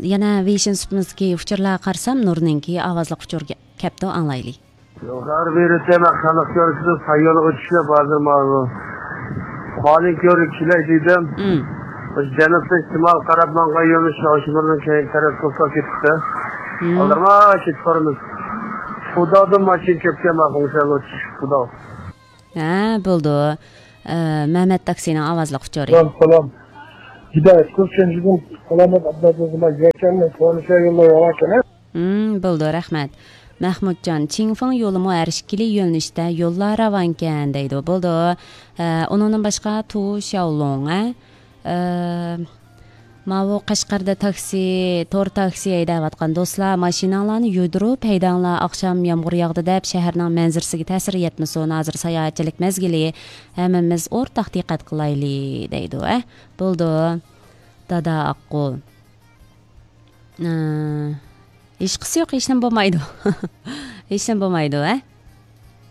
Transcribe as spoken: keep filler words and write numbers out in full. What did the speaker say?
يەنە ۋېيشىن سۇپىمىزدىكى ئۇچۇرلارغا قارىسام، نۇرنىڭكى ئاۋازلىق ئۇچۇر كەپتۇ، ئاڭلايلى. يۇقىرى بېرىتەم، خەلق كۆرسىتىپ، ساييولغا چۈشۈپ، ھازىر ماۋۇ قانۇن كۆرۈپ كېلەي دېدىم. مم. ئاشۇ جەنۇبتىن شىمال قاراپ ماڭغان يولنى شاۋشىمىرنىڭ كەينى تەرەپ توساپ كېتىپتۇ. مم. ئالدىرىماي كېتىپ بارىمىز. خۇدادىن ماشىنا كەپكەن، ماقۇل سەل ئۆتۈش خۇدا. ھە، بولدى. ئە، مەمەت تاكسىنىڭ ئاۋازلىق ئۇچۇرى. سالام، سالام. جىدە، كۆپ چەنجىدىن سالامەت ئابلازىزما يەكەننى كۆرۈشە يوللار ياۋاكەن. ھىم، بولدى، رەھمەت. مەھمۇتجان، چىڭفېڭ يولىمۇ ھەر ئىككىلى يۆنىلىشتە يوللار راۋانكەن دەيدۇ. بولدى. ئە، ئۇنىڭدىن باشقا، تو شياولۇڭ، ئە؟ ئە، ماۋۇ قەشقەردە تاكسى، تور تاكسى ھەيدەۋاتقان دوستلار، ماشىناڭلارنى يۇيدۇرۇپ ھەيدەڭلار، ئاخشام يامغۇر ياغدى دەپ شەھەرنىڭ مەنزىرىسىگە تەسىر يەتمىسۇن، ھازىر ساياھەتچىلىك مەزگىلى، ھەممىمىز ئورتاق دىققەت قىلايلى، دەيدۇ، ئە، بولدى، دادا ئاققۇ. ئە، ھېچقىسى يوق، ھېچنېمە بولمايدۇ. ھېچنېمە بولمايدۇ، ئە.